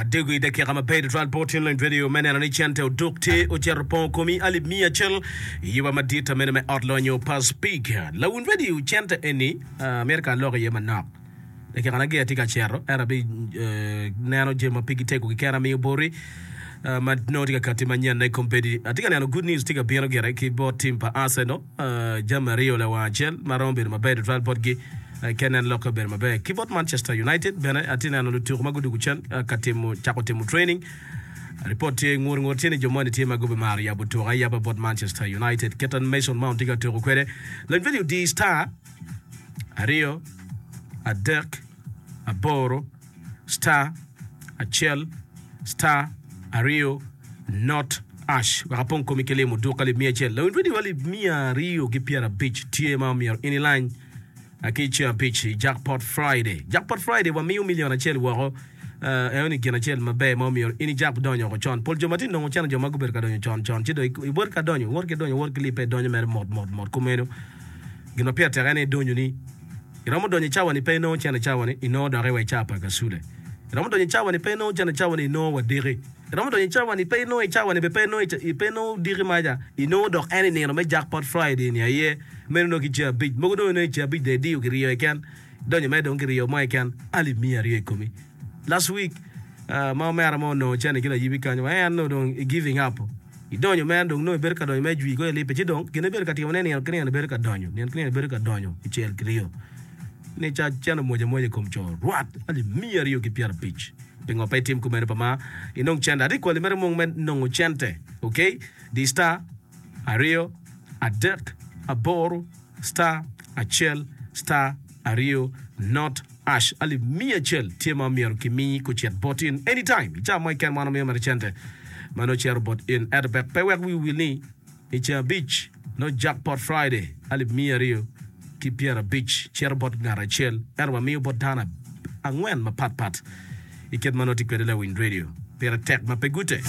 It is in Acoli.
Wadego i dakika maber tutwal bot in Lony Radio me neno ni cente oduk tye ocito pongo komi alip miya acel i yuba madit mene me ot lonyo pa Speke. Lawiny radio cente eni amito ka alok iye manok. Dakika na gira tye ka cito ento abi neno jami ma pigi tego keken amiyo boti ma nongo tye ka kati manyen i kombeddi. Atye ka neno good news tye ka bino gire ki bot team pa Arsenal. Jami aryo lawang acel ma romo bedo maber tutwal botgi ka inen lokke obedo maber. Ki bot Manchester United bene atye neno lutuku ma gudwogo cen ka timo cako timo training. Ripot tye ngur ngur tye ni jo moni tye ma gubimaro yabo tuko ayaba bot Manchester United. Kit ma Mason Mount tye ka tuko kwede, lony video di star aryo adek aboro star acel star aryo not ash wek apong komi ki limo duk alip miya acel. Lawiny radio alip 250 tye ma omyero in ilany ki ceng abic i Jackpot Friday. Jackpot Friday wamiyo million acel woko. Uh, eno gin acel maber ma omyero in ijak donyo woko con. Pol jo ma tye nongo cene jo ma gubedo ka donyo con con ci dong iwot ka donyo, iwot ki donyo, iwot ki lipe donyo mere mot mot mot kumeno. Gin ma pire tek en aye donyo ni Iromo donyo i cawa-ni pe inongo cente cawa-ni, inongo doki wa i cawa pa kacule. Iromo donyo i cawa-ni pe inongo cente cawa-ni, inongo wa diki. Iromo donyo i cawa-ni pe inongo i cawa-ni bene pe inongo i pe inongo diki maca, inongo dok en i nino me Jackpot Friday ni aye. Meno nongo ki ceng abic. Mogo dong inongo i ceng abic dong idiyo kiryo keken, idonyo mere dong kiryo mo keken alip miya aryo i komi. Last week ma omera mo onongo cente ki layibi kanyo wa en onongo dong i giving up. Idonyo mere dong nongo ibedo ka donyo mere jwi kong ilipe ci dong gin ibedo ka timone nino ki nino ibedo ka donyo nino ki nino ibedo ka donyo kicel kiryo ni ca cen omwoc amwoca i kom co rwat alip 250 pingo pe itim kumeno pa ma inong cente ati kwali mere mung me nongo cente ok di star aryo adek aboro star acel star aryo not ash alip 100 tye ma myero kimi kucit bot in anytime i cawa mo keken wan wamiyo mere cente ma nongo cito bot in ento bek pe wek wi owil ni i ceng abic nongo jackpot friday alip 250 cito bot ngat acel ento wamiyo bot dano angwen mapat pat i kit ma nongo tye kwede lawiny radio pire tek ma pe gute.